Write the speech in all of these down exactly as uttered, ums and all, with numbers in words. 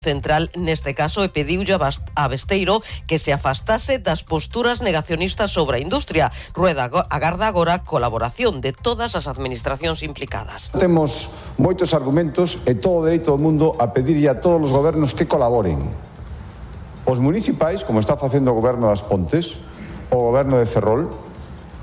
Central neste caso e pediulle a Besteiro que se afastase das posturas negacionistas sobre a industria. Rueda agarda agora colaboración de todas as administracións implicadas. Temos moitos argumentos e todo o dereito do mundo a pedirlle a todos os gobernos que colaboren. Os municipais, como está facendo o goberno das Pontes, o goberno de Ferrol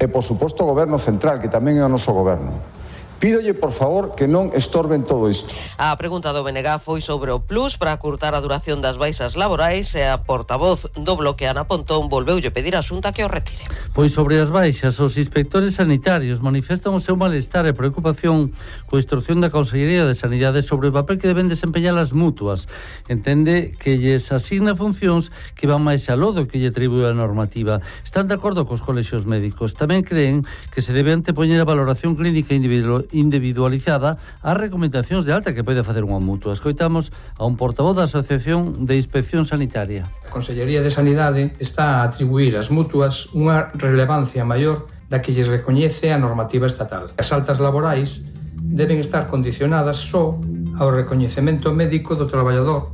e, por suposto, o goberno central, que tamén é o noso goberno. Pídolle, por favor, que non estorben todo isto. A pregunta do B N G foi sobre o plus para acurtar a duración das baixas laborais e a portavoz do Bloque, Ana Pontón, volveulle pedir á Xunta que o retire. Pois sobre as baixas, os inspectores sanitarios manifestan o seu malestar e preocupación coa instrucción da Consellería de Sanidade sobre o papel que deben desempeñar as mutuas. Entende que lles asigna funcións que van máis aló do que lle atribúe a normativa. Están de acordo cos colexios médicos. Tamén creen que se debe antepoñer a valoración clínica individual individualizada ás recomendacións de alta que pode facer unha mutua. Escoitamos a un portavoz da Asociación de Inspección Sanitaria. A Consellería de Sanidade está a atribuir ás mutuas unha relevancia maior da que lles recoñece a normativa estatal. As altas laborais deben estar condicionadas só ao recoñecemento médico do traballador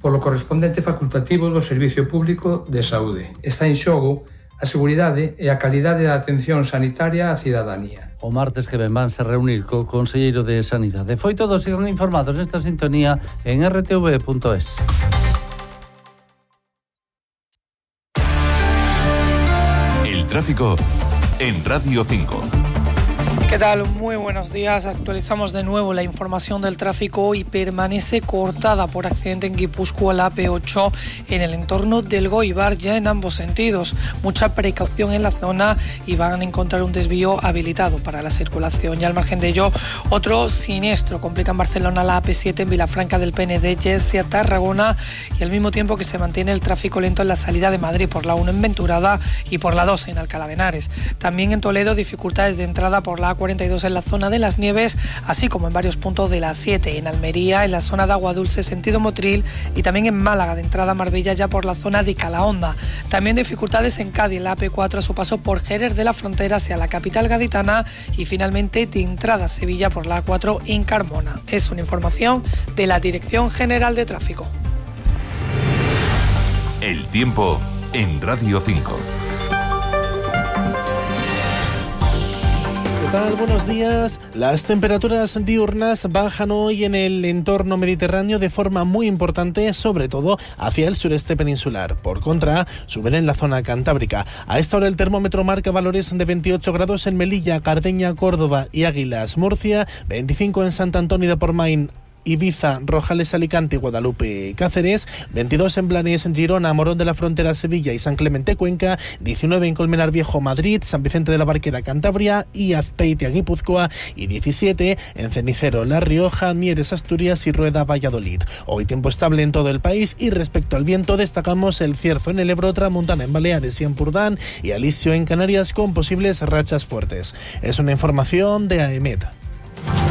polo correspondente facultativo do Servicio Público de Saúde. Está en xogo a seguridade e a calidade da atención sanitaria á cidadanía. O martes que ven vanse reunir co Conselleiro de Sanidade. Foi todo, sigan informados nesta sintonía en r t v punto es. El tráfico en Radio cinco. ¿Qué tal? Muy buenos días. Actualizamos de nuevo la información del tráfico y permanece cortada por accidente en Guipúzcoa la A P ocho en el entorno del Goibar, ya en ambos sentidos. Mucha precaución en la zona y van a encontrar un desvío habilitado para la circulación. Y al margen de ello, otro siniestro complica en Barcelona la A P siete en Vilafranca del Penedès hacia Tarragona, y al mismo tiempo que se mantiene el tráfico lento en la salida de Madrid por la uno en Venturada y por la dos en Alcalá de Henares. También en Toledo, dificultades de entrada por la A cuarenta y dos en la zona de Las Nieves, así como en varios puntos de la siete en Almería, en la zona de Agua Dulce sentido Motril, y también en Málaga de entrada a Marbella ya por la zona de Calahonda. También dificultades en Cádiz en la A P cuatro a su paso por Jerez de la Frontera hacia la capital gaditana, y finalmente de entrada a Sevilla por la A cuatro en Carmona. Es una información de la Dirección General de Tráfico. El tiempo en Radio cinco. Buenos días. Las temperaturas diurnas bajan hoy en el entorno mediterráneo de forma muy importante, sobre todo hacia el sureste peninsular. Por contra, suben en la zona cantábrica. A esta hora el termómetro marca valores de veintiocho grados en Melilla, Cardeña, Córdoba y Águilas, Murcia, veinticinco en Sant Antoni de Portmany, Ibiza, Rojales, Alicante, Guadalupe y Cáceres, veintidós en Blanes, Girona, Morón de la Frontera, Sevilla y San Clemente, Cuenca, diecinueve en Colmenar Viejo, Madrid, San Vicente de la Barquera, Cantabria y Azpeitia, Guipúzcoa, y diecisiete en Cenicero, La Rioja, Mieres, Asturias y Rueda, Valladolid. Hoy tiempo estable en todo el país, y respecto al viento destacamos el cierzo en el Ebro, Tramontana en Baleares y Ampurdán y alisio en Canarias con posibles rachas fuertes. Es una información de AEMET.